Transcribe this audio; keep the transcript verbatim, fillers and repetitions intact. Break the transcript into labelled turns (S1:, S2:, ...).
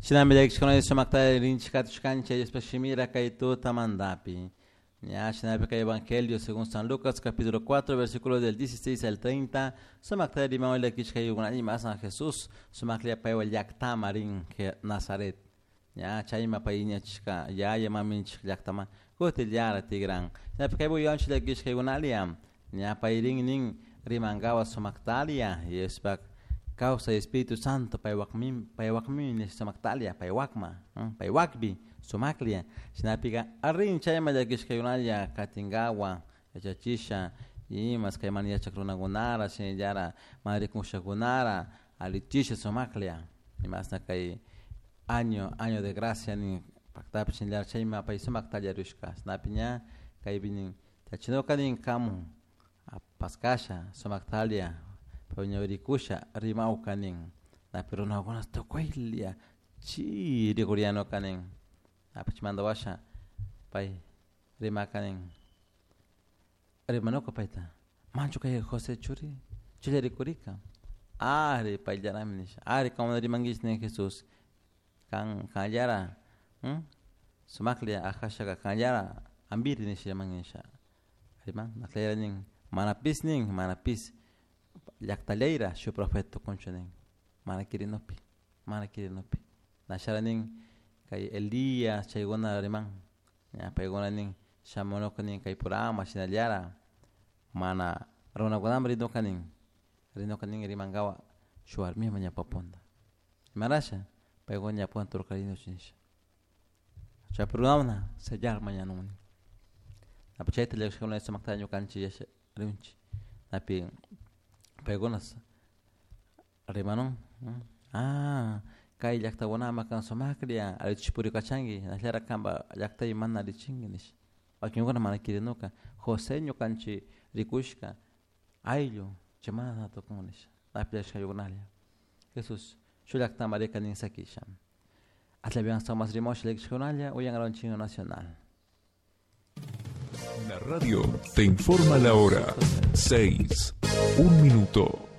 S1: Shinami llakishkuna sumakta rinchik katushkanchik Diospa shimira kay tutamantapi. Ya, shinapi kay Evangelio según San Lucas capítulo cuatro versículo del dieciséis al treinta, sumakta rimawan llakishkayukuna ima San Jesús sumaklla paywan llaktama rin Nazaret. Ya, chayma pay ñachishka yaya maminchik llaktama kutillara tigran. Shinapi kay buyanchik llakishkaykunalla ña pay rin nin rimankawa sumaktalia Diospak causa Espíritu Santo paywakmin paywakmin sumaktalia paywakma paywakpi sumaklia shinapika arrin chayma llakishkaykunalla katinkawa yachachisha imas kay mana yachak runakunara shinallara mana rikushakunara alichisha sumaklia imasna kay año año de gracia nin paktapi shinallara chayma pay sumaktalla rishka shinapi ña kaypi nin chachinoka nin kamu paskasha sumaktalia rikusha rimawka nin napi runakuna tukuylla chi rikurianoka nin napi washa pay rimaka nin rimanuka payta manchu kay José churi chulla rikurika ari payllarami nisha ari como rimankichik nin Jesús kan kanllara sumaklla ajashaka kanllara ambiri nisha rimanki nisha riman naklayara nin manapis nin manapis llaqtallayra shu profeta tukunchu nin mana kirinupi mana kirinupi nashara nin kay Elías chaykuna riman ña paykuna nin shamunuka nin kay purama shinallara mana runakunaman rinuka nin rinuka nin rimankawa shuk warmiman ñawpapunta imarasha paykuna ñawpakuna turkarinuchu nisha chaypi runakuna sellar mañanun nin napi chayta llakishkuna sumakta ñukanchik yasha rinchik napi paykuna rimanun ah kay llaktakunama kan sumaklla allichish purikachanki nashallara kanpa llaktaypi mana allichinki nisha wakinkuna mana kirinuka José ñukanchik rikushka ayllu chay mana tukun nisha napi llakishkayukunalla Jesús shuk llaktaman rika nin sakisha atlapiwan más rimosha llakishkunalla uyankaronchik nacional.
S2: La radio te informa la hora. Seis. Un minuto.